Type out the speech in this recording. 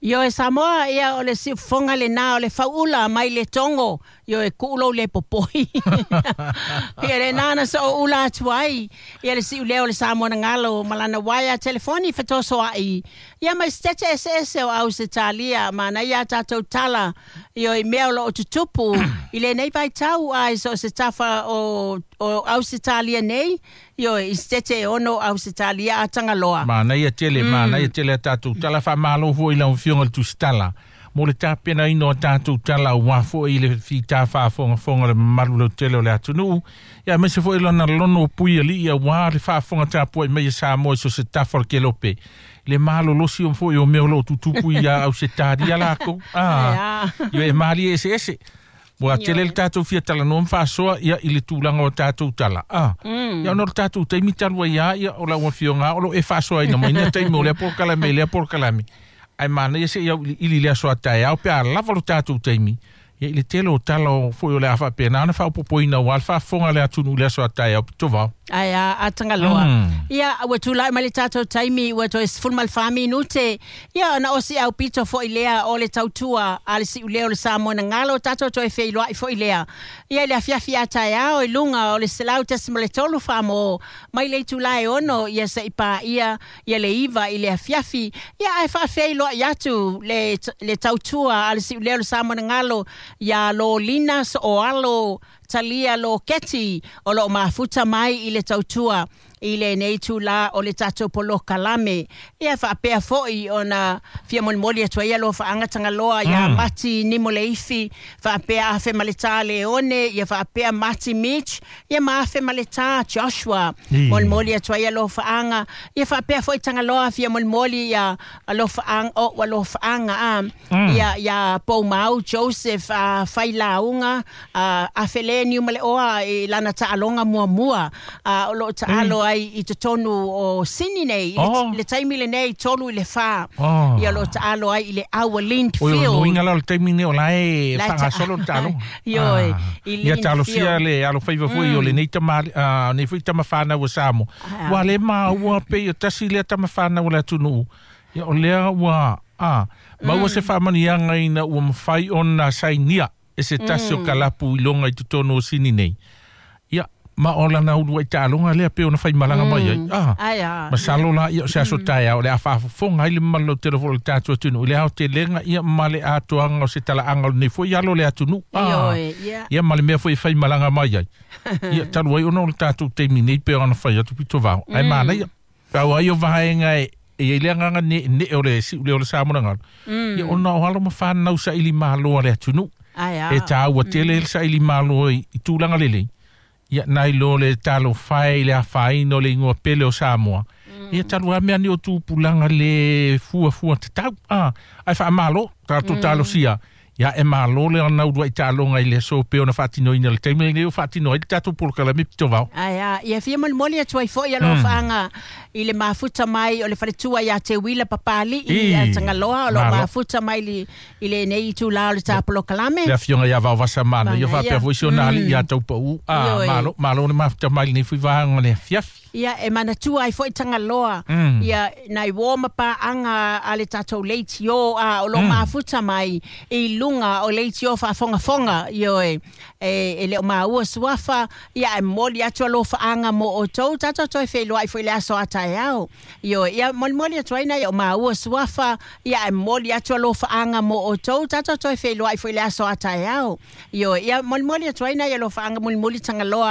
Ioe Samoa, ia o le siufofoga lenā o le fauula mai le Togo, ioe kuu lou le popoi. Ia lenā na sooula atu ai, ia le siuleo o le Samoa na galo ma lana uaea telefoni fetosoa'i, ia mai Setete Eseese o Ausetalia, manaia a tatou tala, ioe i mea o loo tutupu i lenei vaitau a i so o se tafa o Ausetalia nei, ioe i Setete e 6 o Ausetalia a Tagaloa. Manaia tele, manaia tele a tatou tala. Faamalo foi i lau Afioga i le Tusitala mo le tapenaina o tatou tala aua foi i le fita faafogafoga le mamalu lautele o le atunuu. Ia aemaise foi lona lono pui alii aua le faafofoga tapuai mai e Samoa i so se tafa o le kelope. Le malolosi o foi o mea o loo tutupu ia Ausetalia lakou. Ah, ia e malie eseese. Ua tele le tatou fia talanoa ma faasoa ia i le tulaga o tatou tala. Ah, ia ona o le tatou taimi talu ai lava ia o lau Afioga o loo e faasoaina mai lea taimi o lea polokalame i lea polokalame. Ae manaia se i auiliili le aso a taeao pe a lava lo tatou taimi. Ia i le tele o tala o foi o le a faapena ona faaopoopoina aua le faafofoga a le atunuu i le aso a taeao Pitovao. Ae a Tagaloa. Ia, ua tulai mai le tatou taimi, ua toe 14 minute. Ia, ona o si aupito foi lea o le tautua a le siuleo o le Samoa na galo, tatou toe feiloai foi lea. Ia, i le afiafi a taeao i luga o le 100.3 Samoa mai le itula e 6, ia se'i paia ia le 9 i le afiafi. Ia, ae faafeiloai atu le tautua a le siuleo o le Samoa na galo ia Lolina Sooalo Talia Loketi o loo mafuta mai i le tautua i lenei itulā o le tatou polokalame. Ia faapea foi ona fia molimoli atu ai alofaaga Tagaloa iā Mati Nimoleifi, faapea Afe Maletā Leone, ia faapea Mati Mitch, ia ma Afe Maletā Joshua. Molimoli atu ai alofaaga. Ia faapea foi Tagaloa fia molimoli ia alofaaga o alofaaga a ia ia Poumau Joseph a Failauga a Afe le Niumaleoa i lana taaloga muamua o loo taalo ai i totonu o Sini nei i le taimi lenei 3 i le 4. Ia o loo taalo ai i le Our Oi o Lindfield. Nuinga la o le taimi nei o la e faagasolo le taaloga. Ioe, i Ia talosia Lindfield. le alofaiva foi o lenei tama nei foi tama whānau o Samoa. Ua le maua pe o tasi lea tama whānau o le atunuu. Ia o lea ua maua se faamanuiaga ina ua mafai ona sainia e se tasi o kalapu i loga i totonu o Sini nei. Ia, ma o lana uluai taaloga lea pe ona faimalaga mai ai. Ah, masalo la ia o se aso taeao o le a faafofoga ai le mamalu lautele foi o le tatou atunuu i le aotelega ia ma le atoaga o se talaaga o lenei foi alo o le atunuu. Ah, Ioe, ia. Ia ma le mea foi e faimalaga mai ai. Ia talu ai ona o le tatou taimi nei pe ona fai atu Pitovao. Ae manaia. Pau ai o vaega e i ai le agaga ne'ene'e o le si'uleo o le Samoa na galo. Ia ona o alo ma fanau saili malo a le atunuu. E tāua tele le saili malo i tulaga lelei. Ia nai lo le talofa e i le afaina o le igoa pele o Samoa. Ia talu lava mea nei o tupulaga le fuafua tatau. Ah, ae faamalo, tatou talosia. Ia e malo le ona uluai taaloga i le aso pe ona faatinoina le taimi lenei o faatino ai le tatou polokalame Pitovao. Ae a, ia fia molimoli atu ai foi alofaaga i le mafuta mai o le faletua ia Te Uila Papali'i a Tagaloa o loo mafuta mai i lenei itulā o le tapolokalame. Le afioga ia Vaovasa Mana, ia faapea foi si ona alii ia Taupau. Ah, malo, malo le mafuta mai lenei foi vaega o le afiafi. Ia e manatua ai foi Tagaloa ia nai uō ma paaga a le tatou leitio a o loo mafuta mai i luga o leitio faafogafoga. Ioe, e le o maua suafa, ia e momoli atu alofaaga mo outou. Tatou toe feiloai foi le aso a taeao. Ioe, ia molimoli atu ai nai o maua suafa, ia e momoli atu alofaaga mo outou. Tatou toe feiloai foi le aso a taeao. Ioe, ia molimoli atu ai nai alofaaga mulimuli Tagaloa.